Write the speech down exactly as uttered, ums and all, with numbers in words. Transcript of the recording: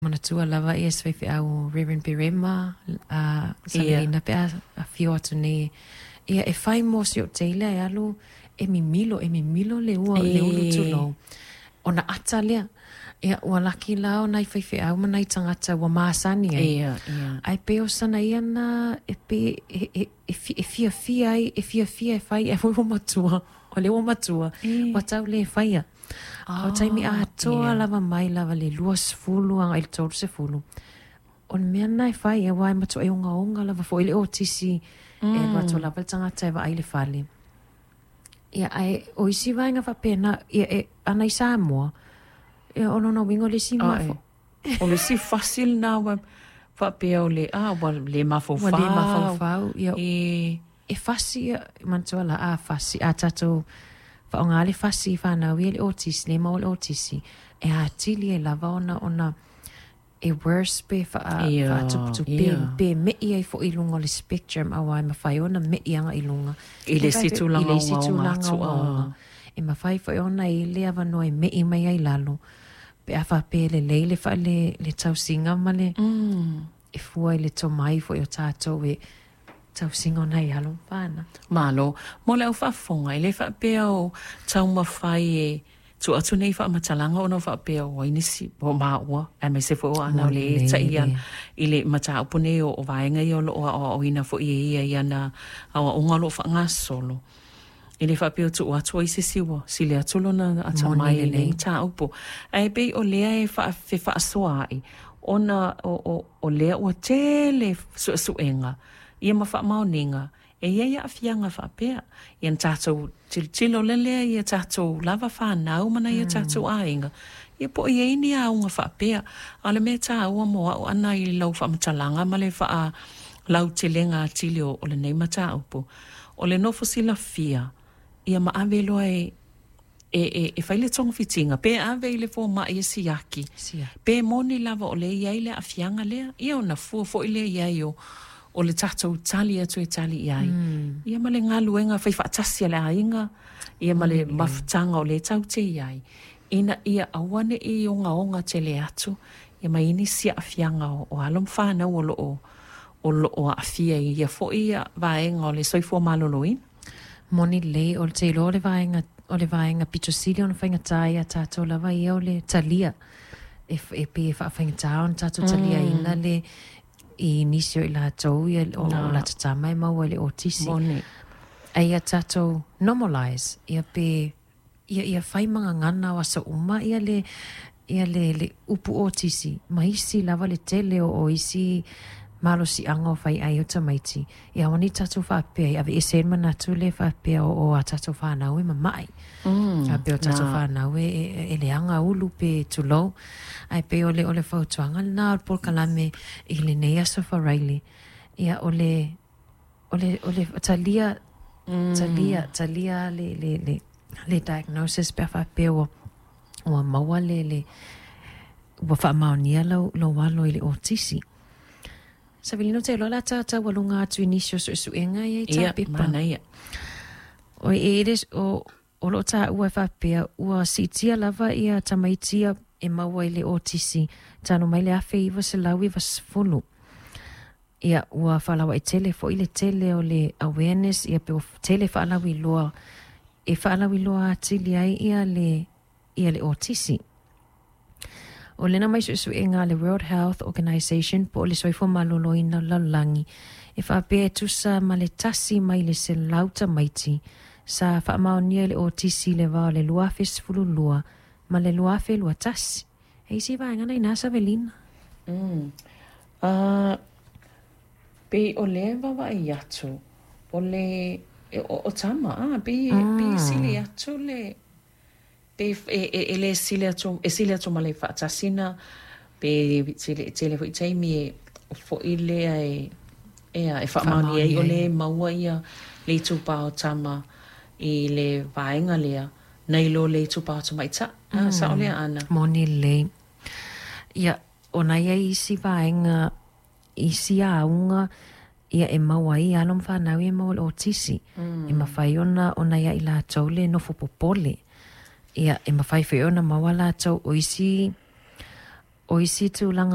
Manatua lava ia se faifeau Reverend Perema, a Ia. Savelina pe a afio atu nei, ia e fai mo si o teila e alu e mimilo, e mimilo le ua, le ulu E. tulou. Ona ata lea, ia ua laki la o nai faifeau ma nai tagata ua masani ai. Ia, ia. Ae pei o sana ia na e pe e, e, e, fi- e fiafia ai, e fiafia e fai e ua matua. O le ua matua, E. ua tau le faia. A o taimi Ah, atoa ia. lava mai lava le luasefulu agai i le tolu sefulu. O le mea lena e fai, auā e matuai ogaoga lava foʻi le otisi e alu atu Mm. lava le tagata e vaai le fale. Ia ae o isi vaega faapena, ia e ana i Samoa, ia o lona uiga o le isi Ae. mafo. O le isi fasi lena ua faapea o le a ua le Ua le mafaufau. mafaufau, ia E. e fasi ia, manatua la a fasi, a tatou faaaogā le fasi i fanau ia le otisi, le maua le otisi, e atili ai lava ona ona e worse pe faa Ia, faatuputupu ia. pe me'i ai foʻi i luga o le spectrum auā e mafai ona me'i agaʻi luga. I le isi I tulaga le isi ogaoga tulaga atu ogaoga. a. E mafai foʻi ona i le avanoa e me'i mai ai lalo. Pe a faapea e lelei le faale le tausiga ma le Mm. e fua i le tomai foʻi o tatou e tausiga o nai alo ma fanau. Malo, mo le au faafofoga, e le faapea o taumafai e tuu atu nei faamatalaga ona o faapea o ai nisi o maua, aemaise foi o aana o Moni le lelei taʻi le. i le mataupu nei o o vaega ia o loo aoaoina foi e ia i ana aoaoga o loo faagasolo. E le faapea o tuu atu ai se isi ua sili atu lona Moni atamai i lenei lelei. mataupu. Ae pei o lea e faafefaasoaai ona o, o, o lea ua tele suesuega ia ma faamaoniga e iai aafiaga faapea. Ia na tatou tilotilo lea lea ia tatou lava fanau ma nai o tatou aiga. Ia po o i ai ni auga faapea. A o le mea taua mo au ana i lau faamatalaga ma le faalautelega atili o, o lenei mataupu. O le nofo silafia, ia ma ave loa e e, e, e fai le togafitiga pe ave i le fomaʻi e siaki Sia. pe moni lava o le iai le aafiaga lea ia ona fua foʻi lea iai o o le tatou tali atu e tali i ai Mm. ia ma le galuega fai faatasi a le aiga ia ma Moni le lelei. mafutaga o le taute i ai ina ia aua neʻi ogaoga tele atu ia ma i nisi aafiaga o, o alo ma fanau o loo o loo aafia i ia foʻi ia vaega o le soifua malōlōina. Moni lelei o le teiloa o le vaega o le vaega pito sili ona faigata ia tatou lava ia o le talia. E, e pe e faafaigata ona tatou taliaina Mm. le i nisi o i latou ia o, o Na latou tama e maua i le otisi. Moni. Ae ia tatou normalize ia pe ia ia fai magagana o aso uma ia le ia le, le upu otisi ma isi lava le tele o, o isi malosiaga o fai ai o tamaiti. Ia aua nei tatou faapea e aveese ai le manatu le faapea o, o a tatou fanau e mamaʻi. Mm. Faapea o tatou Na fanau e, e, e leaga ulu pe tulou. Ae pei o le o le fautuaga lena o le polokalame i lenei aso Faraile. Ia o le o le o le talia talia mm. talia le le le le diagnosis pe a faapea ua ua maua le le ua faamaonia lau lou alo i le otisi. Savelina ou te iloa o le a tataualuga atu i nisi o suesuega ia i Ia tapepa. manaia. O e ele o o loo taua e faapea ua siitia lava ia tamaiti ia e maua i le otisi talu mai le afe iva selau iva sefulu. Ia ua faalauaitele foʻi le tele o le awareness ia pe ua tele faalauiloa e faalauiloa atili ai ia le ia le otisi. O lena mai suesuega a le World Health Organization po o le Soifua Malōlōina o le lalolagi e faapea e tusa ma le tasi mai le selau tamaiti sa faamaonia i le otisi i le va o le lua afe sefulu lua ma le lua afe lua tasi. E isi vaega na ina Savelina. Mm. Uh, pei o lea vaavaai atu o le e, o, o tama a pei pei sili Mm. atu le pe e, e, e le sili atu e sili atu ma le faatasina pe tele tele foʻi taimi e foʻi lea e e a e faamaonia ai Faamaonia o ai. le maua ia le itupa o tama i le vaega lea nai lo le itupa o tamaitaʻi a sao lea Mm. ana. Moni lelei. Ia, ona ia isi vaega, isi auga, ia e maua ai alo ma fanau ia e maua i le otisi. E Mm. mafai ona ona ia i latou le nofo popole. Ia e mafai foi ona maua latou o isi o isi tulaga